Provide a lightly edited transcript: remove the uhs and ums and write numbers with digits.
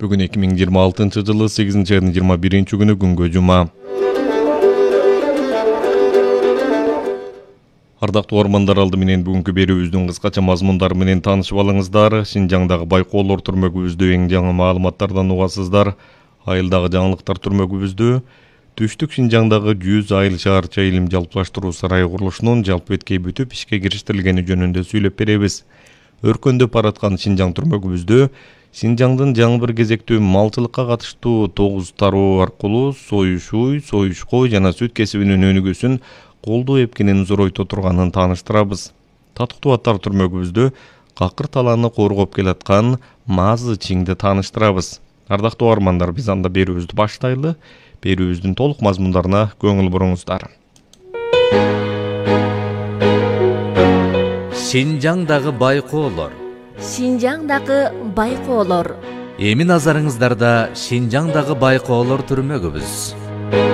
Бүгүн 2026-жылы 8-айдын 21-күнү күнгө жума. Ардактуу угармандар, алды менен бүгүнкү берүүбүздүн кыскача мазмундары менен таанышып алыңыздар. Шинжаңдагы байкоолор түрмөгүбүздө эң жаңы маалыматтардан угасыздар. Айылдагы жаңылыктар түрмөгүбүздө Түштүк Шинжаңдагы 100 айыл шаарча илим жалпылаштыруу сарайы курулушунун жалпы эткей бүтүп ишке кириштирилгени жөнүндө сүйлөп беребиз. Өркөндөп бараткан Шинжаң түрмөгүбүздө Шинжаңдын жаңы бир кезектүү малчылыкка катыштуу 9 тароо аркылуу союш уй, союш кой жана сүт кесибинин өнүгүүсүн колдоо эпкенин зоройто турганын тааныштырабыз. Татыктуу аттар түрмөгүбүздө какыр талааны коргоп келаткан Мазы Чиңди тааныштырабыз. Ардактуу угармандар, биз анда берүүбүздү баштайлы. Берүүбүздүн толук мазмундарына көңүл буруңуздар. Шинжаңдагы байкоолор. Шинжаңдагы байкоолор. Эми назарыңыздарда Шинжаңдагы байкоолор түрмөгүбүз.